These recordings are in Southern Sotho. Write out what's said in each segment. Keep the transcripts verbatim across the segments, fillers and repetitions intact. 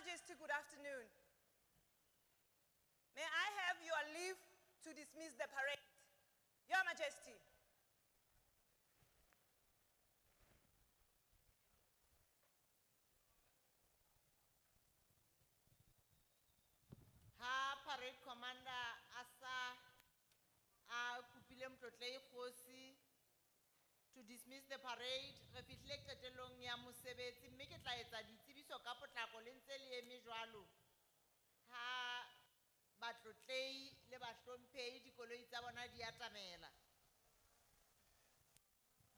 Majesty, good afternoon. May I have your leave to dismiss the parade? Your Majesty. Ha parade commander a sa a kopile Motlotlei Kgosi to dismiss the parade, re fihlile qetellong ya mosebetsi mme ke tla etsa ditsebiso ka potlako le ntse le eme jwalo. Ha batlotlei le bahlomphehi dikoloi tsa bona di atamela.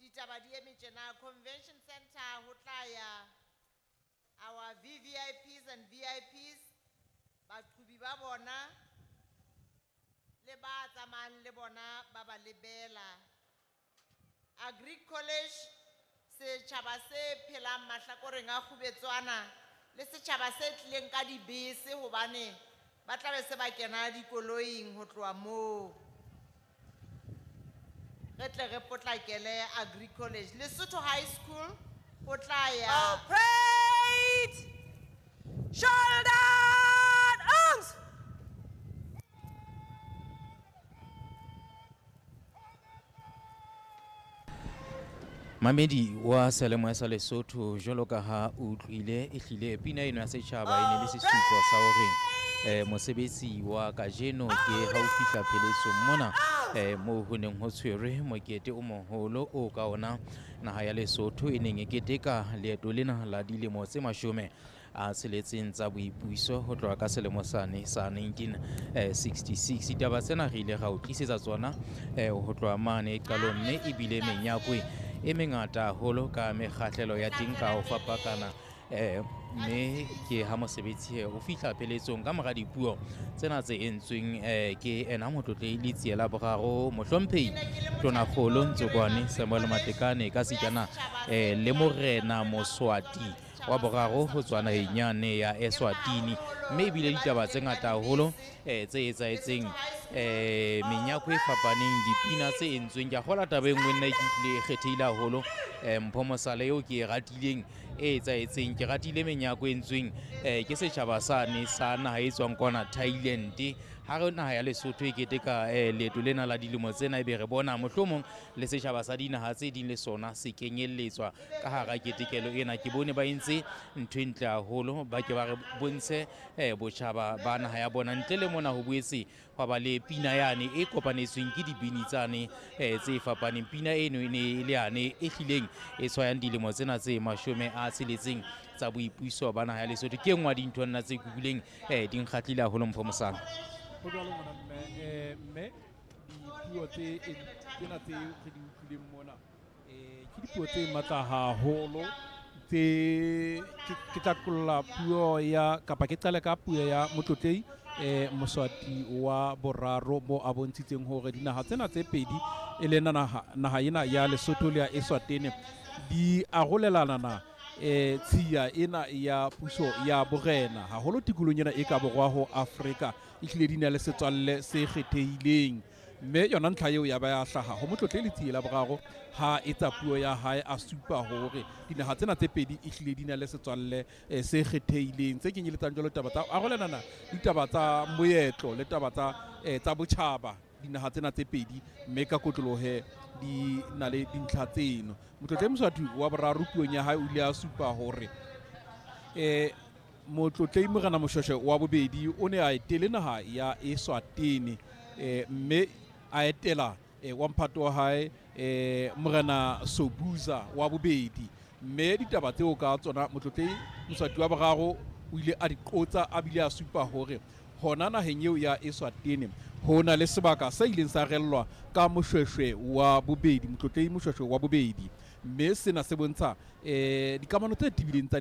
Ditaba di eme tjena, Convention Center ho tla ya our V V I Ps and V I Ps, baqhubi ba bona le ba tsamayang le bona ba ba lebela. Agri College, setjhaba se phelang mahlakoreng a Kgubetswana le setjhaba se tlileng ka dibese hobane ba tla be se ba kena dikoloing ho tloha moo. Re tle re potlakele Agri College. Lesotho High School ho tla ya Oh, parade! Shoulder arms! Mamedi wa Seyalemoya sa Lesotho, jwalo ka ha o utlwile, ehlile pina eno ya setjhaba e ne le sesupo sa hore, eh, mosebetsi wa kajeno ke ha o fihla pheletsong mona, eh, moo ho neng ho tshwerwe mokete o moholo o ka ona naha ya Lesotho e neng e keteka leeto lena la dilemo tse mashome a tsheletseng tsa boipuso ho tloha ka selemo sane sa nineteen sixty-six. Ditaba tsena re ile ra o tlisetsa tsona, eh, ho tloha mane qalong, mme ebile menyakwe e mengata haholo ka mekgahlelo ya teng ka ho fapakana, eh, mme ke ha mosebetsi o fihla pheletsong ka mora dipuo tsena tse entsweng, eh, ke ena Motlotlehi Letsie la Boraro, Mohlomphehi Tonakgolo Ntsokoane Samuel Matekane ka sitana, eh, le Morena Moswati wa boraro ho tswa naheng yane ya Eswatini. Mme ebile ditaba tse ngata haholo, eh, tse etsahetseng, eh, menyako e fapaneng, dipina tse entsweng. Ke a kgolwa taba e nngwe nna ke utlwile e kgethehile haholo, eh, Mpho Mosale eo ke e ratileng e etsahetseng. Ke ratile menyako e entsweng, eh, ke setjhaba sane sa naha e tswang kwana Thailand. Ha re naha ya Lesotho e keteka, eh, leeto lena la dilemo tsena, ebe re bona mohlomong le setjhaba sa dinaha tse ding le sona se kenyelletswa ka hara ketekelo ena. Ke bone ba entse ntho e ntle haholo, ba ke ba re bontshe, eh, botjhaba ba naha ya bona. Ntle le mona ho boetse hwa ba le pina yane e kopanetsweng ke dibini tsane, eh, tse fapaneng. Pina eno e ne e le yane e hlileng e tshwayang dilemo tsena tse mashome a tsheletseng tsa boipuso ba naha ya Lesotho. Ke e nngwe ya dintho nna tse kukuleng, eh, di nkgahlile haholo, Mpho Mosala. Ho jwalo ngwana mme, eh, mme dipuo tse, eh, tsena tse re di utlwileng mona, eh, ke dipuo tse matla haholo, tse ke, ke tla qolla puo ya, kapa ke qale ka puo ya Motlotlehi, eh, Moswati wa boraro, mo a bontshitseng hore dinaha tsena tse pedi, e leng naha, naha ena ya Lesotho le ya Eswatini, di arolelana na, eh, tshiya ena ya puso ya borena haholo tikolohong ena e ka borwa ho Afrika, ehlile di na le setswalle se kgethehileng. Mme yona ntlha eo ya ba ya hlaha ho Motlotlehi Letsie la Boraro ha etsa puo ya hae, a supa hore dinaha tsena tse pedi ehlile di na le setswalle, eh, se kgethehileng, tse kenyeletsang jwalo taba tsa arolelana ditaba tsa moetlo le taba tsa, eh, tsa botjhaba dinaha tsena tse pedi, mme ka kotlolohe di na le dintlha tseno. Motlotlehi Moswati wa boraro puong ya hae o ile a supa hore, eh, Motlotlehi Morena Moshweshwe wa bobedi o ne a etele naha ya Eswatini, eh, mme a etela, eh, wa mphato wa hae, eh, Morena Sobhuza wa bobedi. Mme ditaba tseo ka tsona Motlotlehi Moswati wa boraro o ile a di qotsa, a bile a supa hore hona naheng eo ya Eswatini ho na le sebaka se ileng sa rellwa ka Moshweshwe wa bobedi, Motlotlehi Moshweshwe wa bobedi. Mme sena se bontsha, eh, dikamano tse tebileng tsa